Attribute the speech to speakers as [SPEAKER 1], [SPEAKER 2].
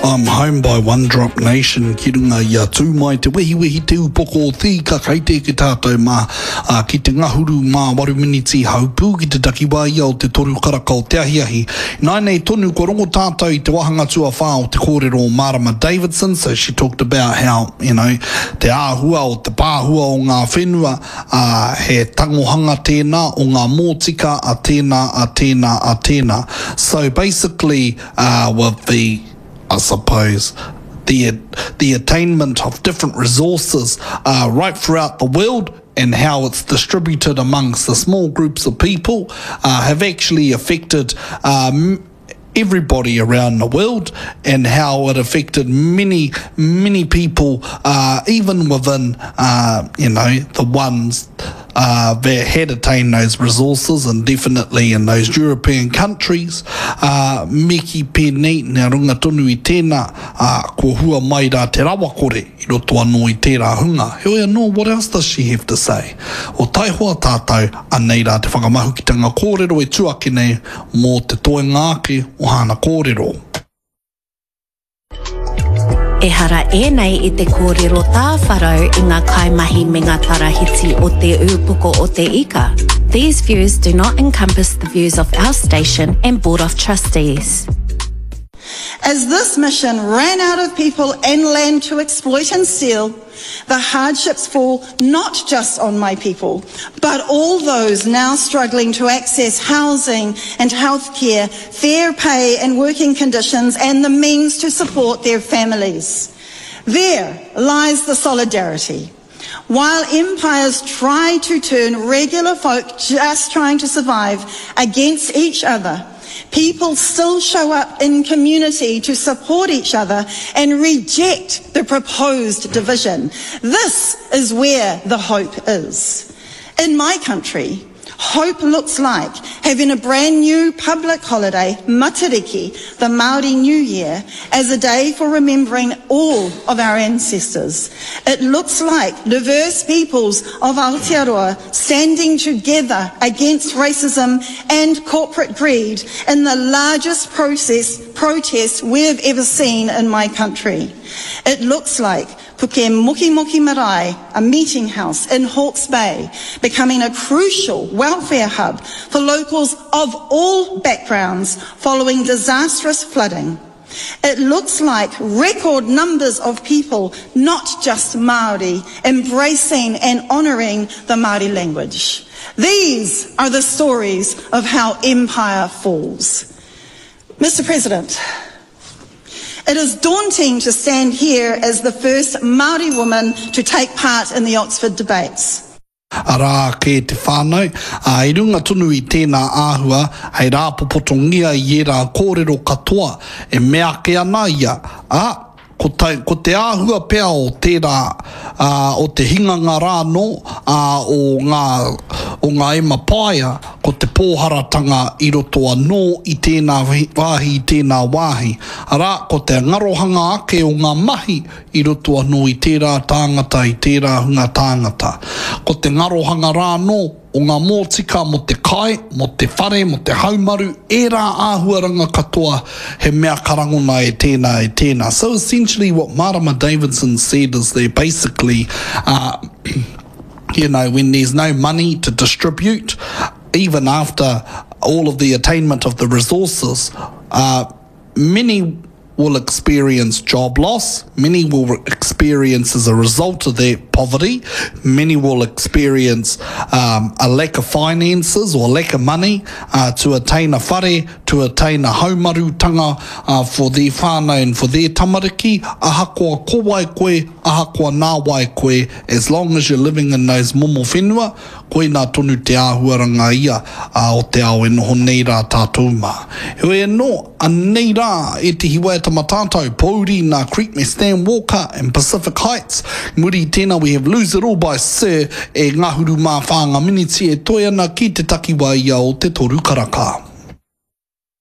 [SPEAKER 1] I'm Home by One Drop Nation ki runga i a Tū Mai Te Wehiwehi Te Upoko o Te Ika kei te eke tātou mā ā, ki te ngahuru mā waru miniti haupū ki te takiwā ia o te toru karaka o te ahiahi. Ināianei tonu kua rongo tātou i te wāhanga tuawhā o te kōrero o Marama Davidson, so she talked about how, you know, te āhua o te pāhua o ngā whenua, ā, he tangohanga tēnā o ngā mōtika a tēnā, a tēnā, a tēnā. So basically, uh, with the, I suppose, the, the attainment of different resources uh, right throughout the world and how it's distributed amongst the small groups of people uh, have actually affected um, everybody around the world and how it affected many, many people, uh, even within, uh, you know, the ones uh, that had attained those resources and definitely in those European countries. Uh, me ki pēnei, nā runga tonu i tēnā, uh, kua hua mai rā te rawakore i roto anō i tērā hunga. Heoi anō, what else does she have to say? O taihoa tātou, anei rā te whakamahukitanga kōrero e tū ake nei mō te toenga ake o hāna kōrero.
[SPEAKER 2] Ehara ēnei i te kōrero tāwharau i ngā kaimahi me ngā tarahiti o Te Ūpoko o Te Ika. These views do not encompass the views of our station and Board of Trustees.
[SPEAKER 3] As this mission ran out of people and land to exploit and steal, the hardships fall not just on my people, but all those now struggling to access housing and healthcare, fair pay and working conditions, and the means to support their families. There lies the solidarity. While empires try to turn regular folk just trying to survive against each other, people still show up in community to support each other and reject the proposed division. This is where the hope is. In my country, Hope looks like having a brand new public holiday, Matariki, the Māori New Year, as a day for remembering all of our ancestors. It looks like diverse peoples of Aotearoa standing together against racism and corporate greed in the largest process, protest we've ever seen in my country. It looks like Puke Moki Moki Marae, a meeting house in Hawke's Bay, becoming a crucial welfare hub for locals of all backgrounds following disastrous flooding. It looks like record numbers of people, not just Māori, embracing and honouring the Māori language. These are the stories of how empire falls. Mr President, it is daunting to stand here as the first Māori woman to take part in the Oxford debates.
[SPEAKER 1] Arā ake te whānau, ā, i runga tonu i tēnā āhua, hei rāpopotongia i ērā kōrero katoa e mea ake ana ia, ā, ko tai, ko te āhua pea o tērā, ā, o te hinganga rānō, ā, o ngā, o ngā emapaia, ko te pōharatanga i roto anō i tēnā wāhi, i tēnā wāhi. Arā, ko te ngarohanga ake o ngā mahi i roto anō i tērā tāngata, i tērā hunga tāngata. Ko te ngarohanga rānō o ngā mōtika mō te kai, mō te whare, mō te haumaru, ērā āhuaranga katoa he mea ka rangona e tēnā, e tēnā. So essentially what Marama Davidson said is that basically, uh, you know, when there's no money to distribute, even after all of the attainment of the resources, uh, many will experience job loss, many will experience as a result of their poverty, many will experience um, a lack of finances or lack of money uh, to attain a whare, to attain a haumarutanga uh, for their whānau and for their tamariki, ahakoa ko wai koe, ahakoa nā wai koe, as long as you're living in those momo whenua, koinā tonu te āhuaranga ia o te ao e noho nei rā tātou mā. Heoi anō, anei rā ētehi waiata matātau, Pōuri nā Creep me Stan Walker and Pacific Heights. Muri i tēnā we have Lose It All by Sir e ngahuru mā whā ngā miniti e toe ana ki te takiwā ia o te toru karaka.